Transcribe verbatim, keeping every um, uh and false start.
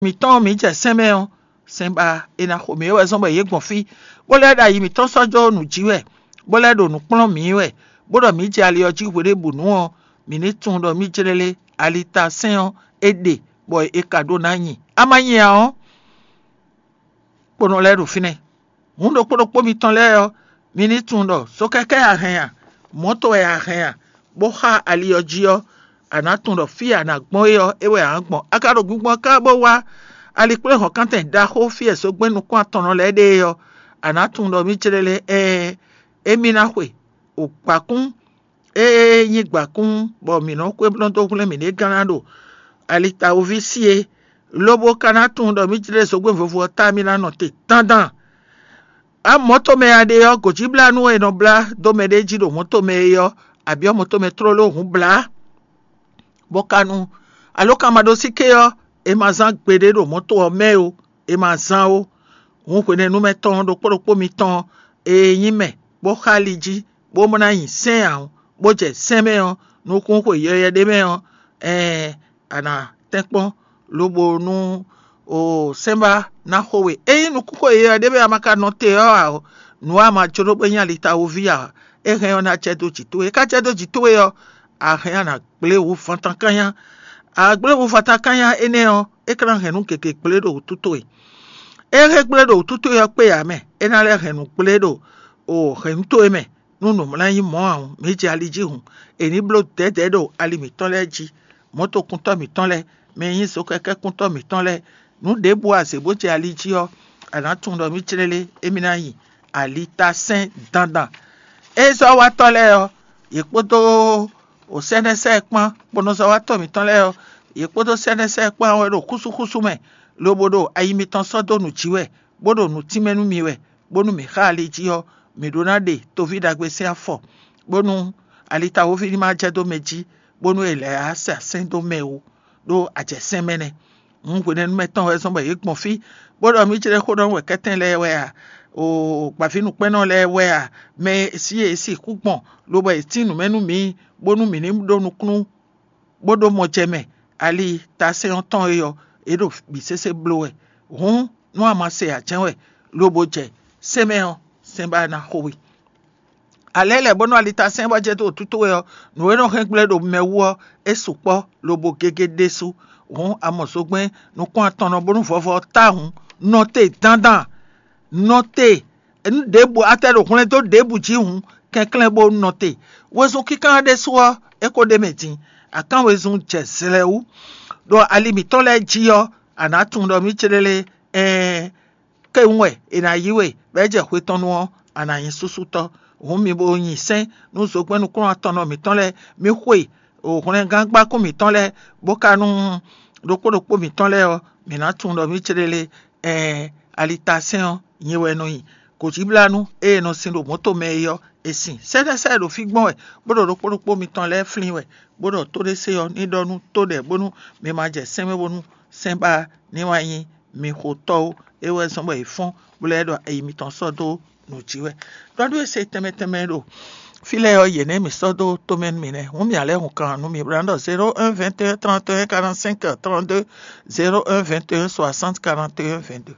mǐtɔn mǐ jɛ sɛn mɛ ɔ́, sɛn ba è nǎ xo mǐ é wɛ zɔ́n bɔ yě gbɔn fí, bó lɛ́ ɖo ayi mǐtɔn sɔ́ jó nǔ jí wɛ, bó lɛ́ ɖo nǔ kplɔ́n mǐ wɛ, bó ɖɔ mǐ jɛ ali ɔ́ jí hweɖěbǔnu ɔ́, mǐ ní tunwun ɖɔ mǐ jlélé ali ta sɛn ɔ́ é ɖe, bɔ è ka ɖó ná nyi. A ma nyi ǎ ɔ́, kponɔ lɛ́ɛ ɖo fínɛ́. Hǔn ɖokpó ɖokpó mitɔn lɛ́ɛ ɔ́, mi ní tunwun ɖɔ sókɛ́kɛ́ a hɛn a, mɔ̌to wɛ a hɛn a, bó xá ali ɔ́ jí ɔ́, a nǎ tunwun ɖɔ fí e a nǎ gbɔn é ɔ́, é wɛ a nǎ gbɔn. A ka ɖo gbingbɔ́n ká bó wá alikpléhɔ̌nkántɛn ɖaxó fí e zogbɛ́n nukún atɔnnɔ lɛ́ɛ ɖe é ɔ́, a nǎ tunwun ɖɔ mǐ céɖélé ɛɛ, émí ná xwe ogbǎkún e nyí gbǎkún, bɔ mǐ nɔ xwé nɔ dó hwlɛ́n mǐɖée gán ná ɖo ali tawuví sí é, lobo ka ná tunwun ɖɔ mǐ jlé zogbɛ́n vovo ɔ́ ta mì ná nɔ te dandan. Amɔ̌ tomɛ a ɖe ɔ́, gǒjíblánú e è nɔ blá dó mɛɖée jí ɖo mɔ̌ tomɛ é ɔ́, a byɔ́ mɔ tomɛ tlóló hǔn blá, bó ka nu alǒkanmaɖósíké ɔ́, è ma zán gbeɖé ɖo mɔ̌ to ɔ́ mɛ ó, è ma zán ó. Hǔn hwenɛ́nu mɛ tɔn ɖokpó ɖokpó mitɔn e nyí mɛ bó xá ali jí, bó ná nyi sɛ́n ǎ, bó jɛ sɛ́n mɛ ɔ́, nukún xwe yɔyɛ ɖé mɛ ɔ́, ɛɛn, a nǎ tɛ́nkpɔ́n lobo nú o sɛ́nbá ná xo we. Ényí nukún xwe yɔyɛ ɖé mɛ a ma ka nɔ te ɔ́ ǎ ɔ́, nǔ a ma jló bó nyí ali tawoví ǎ, é hɛn ɔ́ ná jɛ dó jǐ towe. É ka jɛ dó jǐ towe ɔ́, a hɛn a nǎ gblé wǔ fantankánnyá. A gblé wǔ fantankánnyá énɛ́ ɔ́, é ka ná hɛn nǔ gěgé gblé ɖo wǔtu towe. É hɛn gblé ɖo wǔtu towe ɔ́ kpé ǎ mɛ, é ná lɛ́ hɛn nǔ gblé ɖo o hɛ̌nnu towe mɛ. Nú nǔmlá nyí mɔ̌ ǎ, mǐ jɛ ali jí hǔn, è ní bló dɛ̌dɛ̌ ɖo ali mǐtɔn lɛ́ɛ jí. Mɔ̌tokuntɔ́ mǐtɔn lɛ́ɛ, mɛ e nyí zokɛkɛ́kuntɔ́ mǐtɔn lɛ́ɛ, nǔ ɖěbǔ a zě bó jɛ ali jí ɔ́, a nǎ tunwun ɖɔ mǐ clélé émí ná nyi alitasɛ́n dandan. Ée zɔ́watɔ́ lɛ́ɛ ɔ́, yě kpódó sɛ́nɛ́sɛ́ kpán kponɔzɔ́watɔ́ mǐtɔn lɛ́ɛ ɔ́, yě kpódó sɛ́nɛ́sɛ́ kpán wɛ ɖo xúsúxúsú mɛ, lobo ɖo ayi mitɔn sɔ́ dó nǔ jí wɛ, bó ɖo nǔ tínmɛ nú mi wɛ, bónú mǐ xa ali jí ɔ́, mǐ ɖó ná ɖe toví ɖagbe sín afɔ, bónú alitawoví ní ma jɛ dó mɛ jí, bónú è lɛ̌ á sa sɛ́n dó mɛ ó, ɖó a jɛ sɛ́n mɛ nɛ́. Hǔn hwenɛ́nu mɛtɔn wɛ zɔ́n bɔ yě gbɔn fí, bó ɖɔ mǐ jlɛ́ xó ɖɔ nú wɛ̌kɛ́tɛn lɛ́ɛ wɛ a? O gbǎvínǔkpɛ́nnɔ lɛ́ɛ wɛ a? Mɛ e sí e sixú gbɔn, lobɔ è tín nǔ mɛ nú mǐ, bónú mǐ ní ɖó nukúnnú, bó ɖó mɔ jɛ mɛ, ali tasɛ́n ɔ́ tɔn é ɔ́, é ɖo bǐ sésé bló wɛ. Hǔn nú a ma se ǎ jɛ́n wɛ, lobo jɛ sɛ́n mɛ ɔ́, sɛ́n ba ná xo we. A lɛ̌ lɛ̌ bónú alitasɛ́n bɔ jɛ dó wǔtútú we ɔ́, nǔ e nɔ hɛn gblé ɖo mɛ wú ɔ́, é sukpɔ́ lobo gégé ɖésú. Hǔn a mɔ zogbɛ́n nukún atɔnnɔ bónú vɔvɔ ɔ́ táhǔn nɔ te dandan, nɔ te nú ɖěbǔ a tɛ ɖo hwlɛ́n dó ɖěbǔ jí hǔn, kɛnklɛ́n bó nɔ te. Wezun kínkán ɖésú ɔ́, é ko ɖ'é mɛ din. Akán wezun jɛ zlɛ̌ wú, ɖo ali mǐtɔn lɛ́ɛ jí ɔ́, a nǎ tunwun ɖɔ mǐ céɖélé ɛɛn, kéwún wɛ è nǎ yí we, bɔ é jɛ hwe tɔn nu ɔ́, a nǎ nyí súsútɔ́. Hǔn mi bo nyi sɛ́n nú zogbɛ́n nukúnnú atɔnnɔ mǐtɔn lɛ́ɛ, mi xwe hwlɛngán gbákún mǐtɔn lɛ́ɛ, bó ka nú ɖokpó ɖokpó mǐtɔn lɛ́ɛ ɔ́, mǐ ná tunwun ɖɔ mǐ céɖélé ɛɛn, alitasɛ́n ɔ́, nyɛ wɛ nɔ nyi. Gǒjíblánú e è nɔ sin ɖo mɔ̌to mɛ é ɔ́, è sin. Sɛ́sɛ́sɛ́ ɖo fí gbɔn wɛ, bó ɖo ɖokpó ɖokpó mitɔn lɛ́ɛ flín wɛ, bó ɖɔ tó ɖé se ɔ́ ní ɖɔ nú tó ɖɛ̌ bónú mi ma jɛ sɛ́nmɛ bónú sɛ́n ba ní wá nyí mi xotɔ́ ó. É wɛ zɔ́n bɔ è fɔ́n, bó lɛ́ ɖɔ ayi mitɔn sɔ́ dó nǔ jí wɛ. Ɖɔɖú e se tɛnmɛ tɛnmɛ ɖo fí lɛ́ɛ ɔ́, yě nɛ́ mǐ sɔ́ dó tomɛ nú mǐ nɛ́. Hǔn mǐ ǎ lɛ́ hun kan nú mi bó ná ɖɔ zéro un vingt et un trente et un quarante-cinq trente-deux, zéro un vingt et un soixante quarante et un vingt-deux.